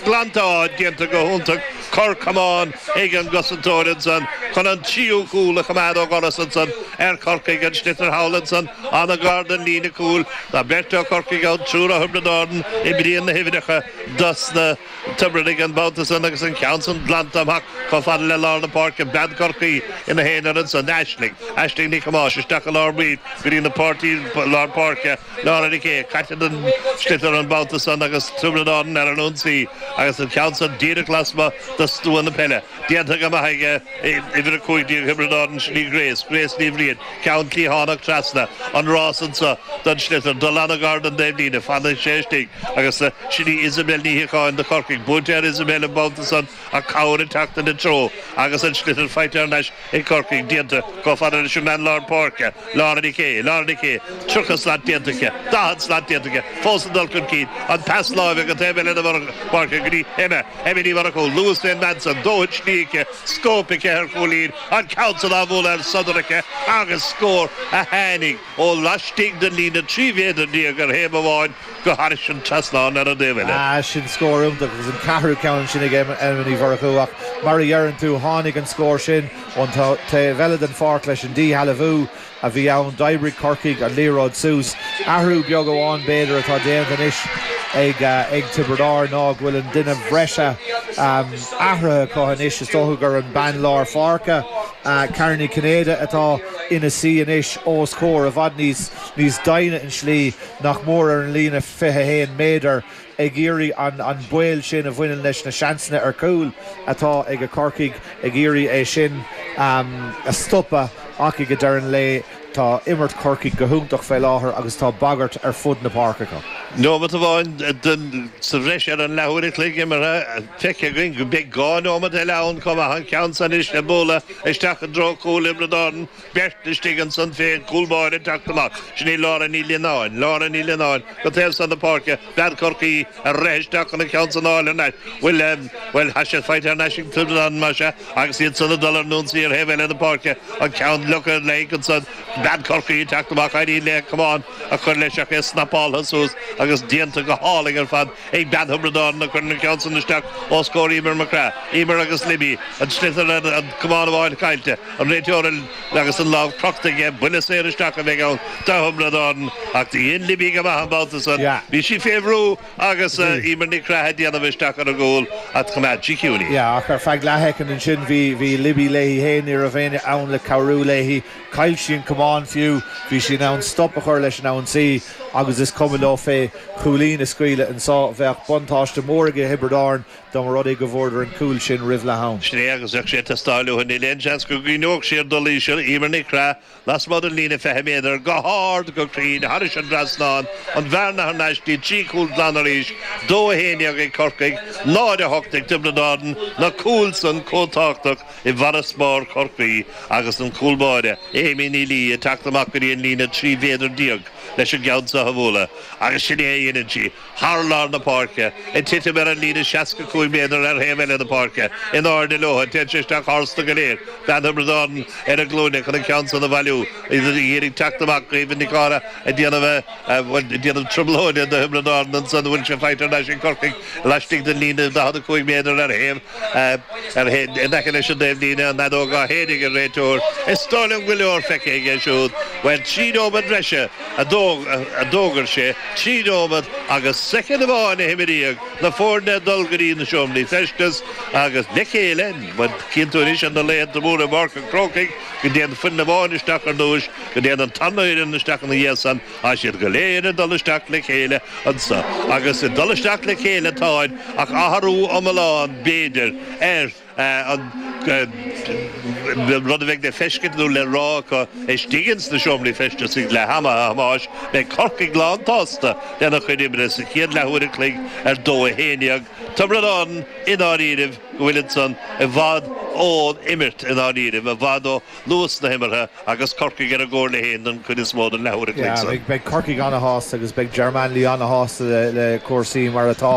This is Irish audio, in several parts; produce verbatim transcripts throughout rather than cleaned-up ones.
glanta déanta go hiontach cor camán ag an gcosantóir ansan chun an tríú cúl a choimeád ó dhoras ansan ar Chorcaigh an sliotar thall ansan an-ghar don líne cúil Tá beirt ó Chorcaigh ann triúr ó Thiobraid Árann oibríonn na huimhreacha dos na Tiobradaigh an babhta san agus an ceann san glanta amach chomh fada le lár na páirce bean Chorcaí ina haonar ansan Aisling Aisling Ní Thomáis isteach i lár baill go dtí na páirtí lár páirce Laura Nic Aodha caite den sliotar an babhta san agus Tiobraid Árann ar an ionsaí agus an ceann san díreach lasmuigh de stua na peile. Déanta go maith aige uimhir a cúig déag Thiobraid Árann sin í Grace, Grace Ní Bhriain, ceann cliathánach trasna an rás anso don sliotar, dul an-ghar don dtaobhlíne, fanfaidh sé istigh agus sin í Isabel Ní Shíocháin do Chorcaigh, buailte ar Isabel an babhta san ach cabhair ag teacht ina treo agus an sliotar faighte thar n-ais ag Corcaigh, déanta chomh fada leis an mbean lár páirce, Laura Nic Aodha, Laura Nic Aodha, tríocha slat déanta aici, daichead slat déanta aici, fós ag dul chun cinn, an pas láimhe go taobh eile na páirce go dtí Emma, Emma Ní Mhurchú, luas fén mbean san, dóthain slí aici, scóip aici ar chúilín, an ceann san á bhualadh ar sodar aici agus scór a tháinig ó laistigh den líne trí mhéadar déag ar thaobh amháin go thairis an trasnán ar an dtaobh eile. Ah, sin scór iontach agus an ceathrú ceann sin ag Emma Ní Mhurchú ach mar a dheireann tú tháinig an scór sin ón taobh eile den pháirc leis an díshealbhú a bhí ann d'oibrigh Corcaigh an liathróid suas. Athrú beag amháin b'fhéidir atá déanta anois ag ag Tiobraid Árann ná go bhfuil an duine breise um, athraithe acu anois is dócha gur an bean lár pháirce uh, Karen Ní Chinnéide atá ina suí anois os comhair i bhfad níos níos doimhne an slí nach mór ar an líne fiche haon méadar ag iarraidh an an baol sin a bhaineann leis na seansanna ar cúl atá ag a Corcaigh ag iarraidh é sin um, a stopadh ach ag deireadh an lae tá imirt Corcaigh go hiontach fé láthair agus tá bagairt ar fud na páirce acu. Nóiméad amháin sa bhreis ar an leathuair a chloig imeartha feicthe againn go beidh dhá nóiméad eile ann chomh maith an ceann san anois le bualadh isteach i dtreo cúl Thiobraid Árann beirt istigh ansan féin cúl báire teacht amach sin í Laura Ní Lionáin Laura Ní Lionáin go taobh san na páirce bean Chorcaí a rith isteach chun an ceann san fháil ar ais bhfuil bhuel tá sé faighte thar n-ais ag Tiobraid Árann mar sin agus iad san ag dul ar an ionsaí ar thaobh eile na páirce an ceann leoga le ansan bean Chorcaí teacht amach éiríonn léi camán a chur leis ach é snapáltha suas agus déanta go hálainn ar fad ag bean Thiobraid Árann a chuir an ceann san isteach os comhair Emer McGrath Emer agus Libby an sliotar an camán amháin caillte an réiteoir agus an lámh crochta aige buille saor isteach a bheidh ann do Thiobraid Árann ach dhein Libby go maith an babhta san bhí sí fé bhrú agus Emer Ní Chreath déanamh isteach ar an gcúl ach choimeád sí ciúin í. Ja ach ar feadh leathshoicind ansin bhí bhí Libby léi féin ní raibh éinne ann le cabhrú léi chaill sí an camán fiú bhí sí in ann stop a chur leis an ionsaí agus is cuma leo fé chúilín a scaoileadh anseo bheadh buntáiste mór ag Tiobraid Árann dá mba rud é go bhfuaireadar an cúl sin roimh leath am. Sin é agus bheadh sé teastáil níl aon seans go gcuimhneodh siad dul íseal Emer Ní Chreath lasmuigh den líne fiche méadar go hard go cruinn thairis an trasnán an bhearna thar n-ais dtí trí chúl glan arís dó a haon déag ag Corcaigh náid a hocht ag Tiobraid Árann na cúil san chomh tábhachtach i bhfarasbarr Chorcaí agus an cúl báire Amy Ní Lee ag teacht amach go dtí an líne trí mhéadar déag leis an gceann seo a bhualadh agus sin é a dhéanann sí thar lár na páirce ag titim ar an líne seasca cúig méadar ar thaobh eile na páirce in airde leo téann sé isteach tharstu go léir bean Thiobraid Árann ar a glúine chun an ceann san a bhailiú iad ag teacht amach Caoimhe Nic Cára ag déanamh déanamh trioblóide do Thiobraid Árann ansan bhfuil sé faighte thar n-ais ag Corcaigh laistigh den líne daichead a cúig méadar ar thaobh ar in aice leis an dtaobhlíne an fheadóg á shéideadh ag an réiteoir is dóigh liom go leor feicthe aige siúd bhuel trí nóiméad breise a d'fhógair sé trí nóiméad agus soicind amháin a himríodh na foirne dul go dtí na seomraí feistis agus le chéile cinntiú anois an na laethanta móra i bPáirc an Chrócaigh go dtéann foireann amháin isteach ar dtús go dtéann an tarna fhoireann isteach ina dhiaidh san tá siad go léir ag dul isteach le chéile anso agus ag dul isteach le chéile táid ach athrú iomlán b'fhéidir ar an rud a bheidh le feiscint nó le rá acu istigh ins na seomraí feistis ag leath ama a Thomáis beidh Corcaigh lánsásta lena chuid oibre sa chéad leathuair a chloig ar dó a haon déag Tiobraid Árann i ndáiríribh go bhfuil ansan i bhfad ón imirt i ndáiríribh i bhfad ó luas na himeartha agus Corcaigh ar a gcomhairle féin don chuid is mó den leathuair a chloig san. Beidh Corcaigh an-shásta agus beidh Ger Manley an-shásta le, le cúrsaí mar atá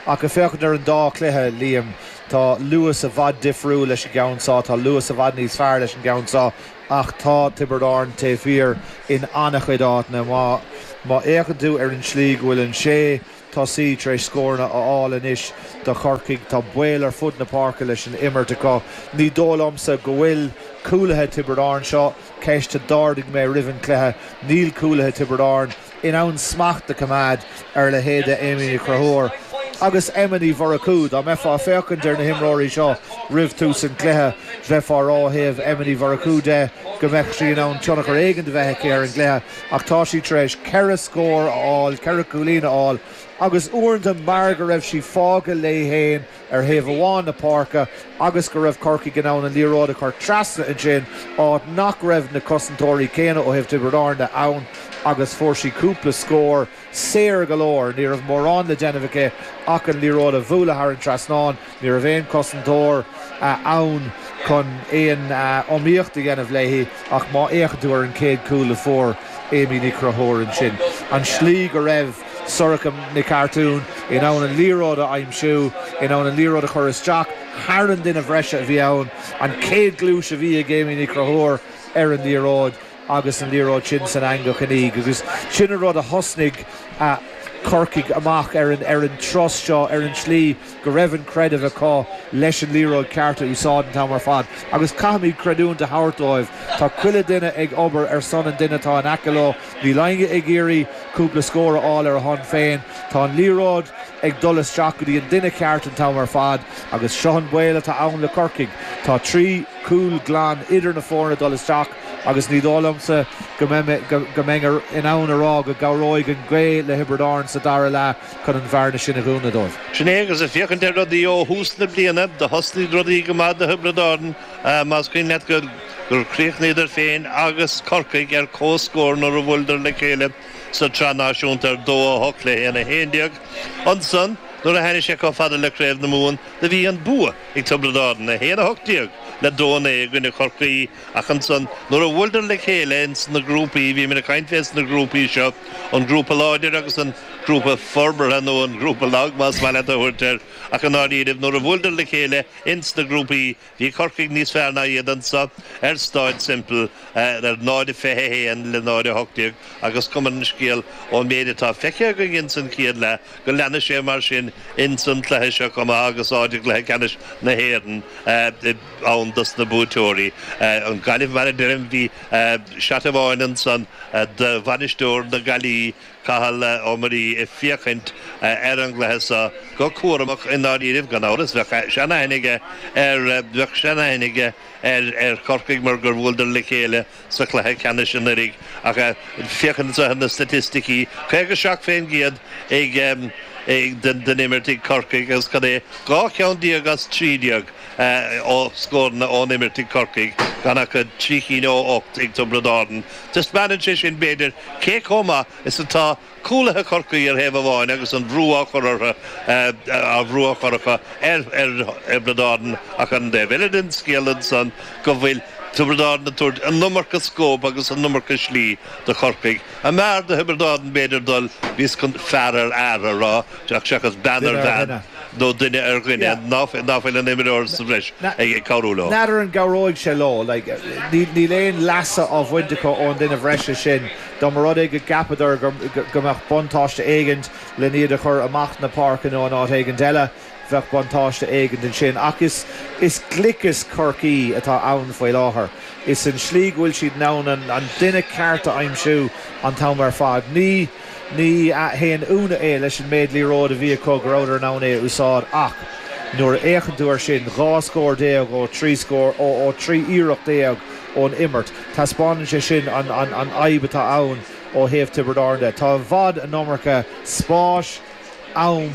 ach ag féachaint ar an dá chluiche Liam Tá luas i bhfad difriúil leis an gceann seo, tá luas i bhfad níos fearr leis an gceann seo ach tá Tiobraid Árann taobh thiar in an-chuid áiteanna má má fhéachann tú ar an slí go bhfuil an sé tosaí tar éis scóranna a fháil anois do Chorcaigh. Tá baol ar fud na páirce leis an imirt acu. Ní dóigh liomsa go bhfuil cúlaithe Tiobraid Árann, seo ceist a d'ardaigh mé roimh an cluiche, níl cúlaithe Tiobraid Árann in ann smacht a choimeád ar leithéide Amy Ní Chonchúir agus Emma Ní Mhurchú. Dá mbeifeá féachaint ar na himreoirí seo roimh tús an chluiche, bheifeá ag rá ó thaobh Emma Ní Mhurchú de go mbeadh sí in ann tionchar éigin a bheith aici ar an gcluiche, ach tá sí tar éis ceithre scór a fháil, ceithre chúilín a fháil, agus uaireanta mar go raibh sí fágtha léi féin ar thaobh amháin na páirce agus go raibh Corcaigh in ann an liathróid a chur trasna ansin, áit nach raibh na cosantóirí céanna ó thaobh Tiobraid Árann de ann, agus fuair sí cúpla scór saor go leor. Ní raibh mórán le déanamh aici ach an liathróid a bhualadh thar an trasnán. Ní raibh aon chosantóir ann chun aon iomaíocht a dhéanamh léi. Ach má fhéachann tú ar an chéad chúl a fuair Amy Ní Chonchúir ansin, an slí go raibh Sorcha Nic Artún in ann an liathróid a aimsiú, in ann an liathróid a chur isteach thar an duine bhreise a bhí ann, an chéad ghluais a bhí ag Amy Ní Chonchúir ar an liathróid agus an liathróid sin san eangach aniar, agus sin an rud a thosnaigh Corcaigh amach ar an ar an turas seo, ar an slí go raibh an creideamh acu leis an liathróid ceart a úsáid an t-am ar fad. Agus caithfimid creidiúint a thabhairt dóibh, tá chuile duine ag obair ar son an duine atá in aice leo. Níl éinne ag iarraidh cúpla scór a fháil ar a shon féin. Tá an liathróid ag dul isteach go dtí an duine ceart an t-am ar fad, agus seo an baol atá ann le Corcaigh. Tá trí chúl glan idir na foirne dul isteach, agus ní dóigh liomsa go mbeinn in ann a rá go gcabhróidh an ghaoth le Thiobraid Árann sa dara leath chun an bhearna sin a dhúnadh dóibh. Sin é, agus ag féachaint ar rudaí ó thús na bliana, do thosnaigh rudaí go maith do Thiobraid Árann, más cuimhin leat gur gur chríochnaíodar féin agus Corcaigh ar comhscór nuair a bhuaileadar le chéile sa tsraith náisiúnta ar dó a hocht le haon a haon déag. Ansan, nuair a tháinig sé chomh fada le Craobh na Mumhan, do bhí an bua ag Tiobraid Árann, a haon a hocht déag le dó a naoi i gcoinne Chorcaí, ach ansan, nuair a bhuaileadar le chéile ins na grúpaí, bhí mé ag caint fés na grúpaí seo, an grúpa láidir agus an grúpa forbartha nó an grúpa lag más maith leat a thabhairt air, ach i ndáiríribh, nuair a bhuaileadar le chéile ins na grúpaí, bhí Corcaigh níos fearr ná iad anso ar Stáid Semple ar náid a fiche a haon le náid a hocht déag, agus cuma ar an scéal ón méid atá feicthe againn ins an chéad leath go leanfaidh sé mar sin ins an cluiche seo chomh maith agus áit i gcluiche ceannais na hÉireann ann dos na buaiteoirí. An Ghaillimh, mar a deirim, bhí seat amháin ansan do bhainisteoir na Gaillimhe, Cathal Ó Muirí, ag féachaint ar an gcluiche seo go cúramach i ndáiríribh, gan amhras, bheadh seanaithne aige ar bheadh seanaithne aige ar ar Chorcaigh mar gur bhuaileadar le chéile sa chluiche ceannais anuraidh. Ach féachaint ar na staitisticí, caoga seacht faoin gcéad ag ag den den imirt ag Corcaigh agus cad é, dhá cheann déag as trí déag ó scóranna ón imirt ag Corcaigh, gan ach trí cinn ó ocht ag Tiobraid Árann. Taispeánann sé sin, b'fhéidir, cé chomh maith is atá cúlaithe Chorcaí ar thaobh amháin agus an bhrú á chur orthu, á bhrú á chur acu ar Thiobraid Árann, ach ar an dtaobh eile den scéal ansan go bhfuil Tiobraid Árann ag tabhairt an iomarca scóip agus an iomarca slí do Chorcaigh. An mb'fhearr do Thiobraid Árann b'fhéidir dul níos chun fear ar fhear a rá seachas bean ar bhean nó duine ar dhuine ná fuil an imreoir sa bhreis ag cabhrú leo. N'fheadar an gcabhróidh sé leo. Níl aon leasa á bhaint acu ón duine bhreise sin. Dá mba rud é go gceapadar go mbeadh buntáiste éigint len iad a chur amach na páirce nó in áit éigint eile, bheadh buntáiste éigint ansin. Ach is is gliceas Chorcaí atá ann faoi láthair. Is an slí go bhfuil siad in ann an duine ceart a aimsiú an t-am ar fad. Ní ní haon ionadh é leis an méid liathróid a bhí acu go rabhadar in ann é a úsáid, ach nuair a fhéachann tú air sin, dhá scór déag ó trí scór ó trí iarracht déag ón imirt, taispeánann sé sin an an an fhadhb atá ann ó thaobh Tiobraid Árann de. Tá i bhfad an iomarca spáis, am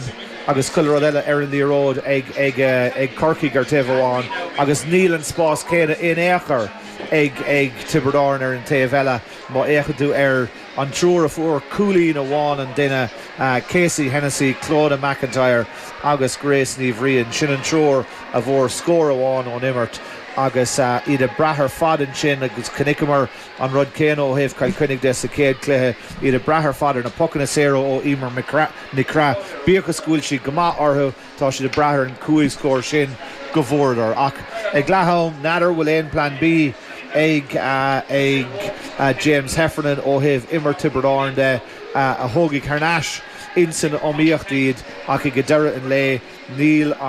agus chuile rud eile ar an liathróid ag ag ag Corcaigh ar taobh amháin agus níl an spás céanna in aon chor ag ag Tiobraid Árann ar an taobh eile. Má fhéachann tú ar an triúr a fuair cúilín amháin an duine, Casey Hennessy, Clodagh McIntyre agus Grace Ní Bhriain, sin an triúr a bhfuair scór amháin ón imirt agus iad ag brath ar fad ansin, agus chonaiceamar an rud céanna ó thaobh Chill Chainnigh de sa chéad chluiche, iad ag brath ar fad ar na pocanna saora ó Emer Nic Craith. Bíodh is go bhfuil siad go maith orthu, tá siad ag brath ar an cúig scór sin go bhfuaireadar. Ach ag leath-am, n'fheadar bhfuil aon Plan B ag ag James Heffernan ó thaobh imirt Tiobraid Árann de a thógfaidh thar n-ais insan iomaíocht iad ach ag deireadh an lae níl an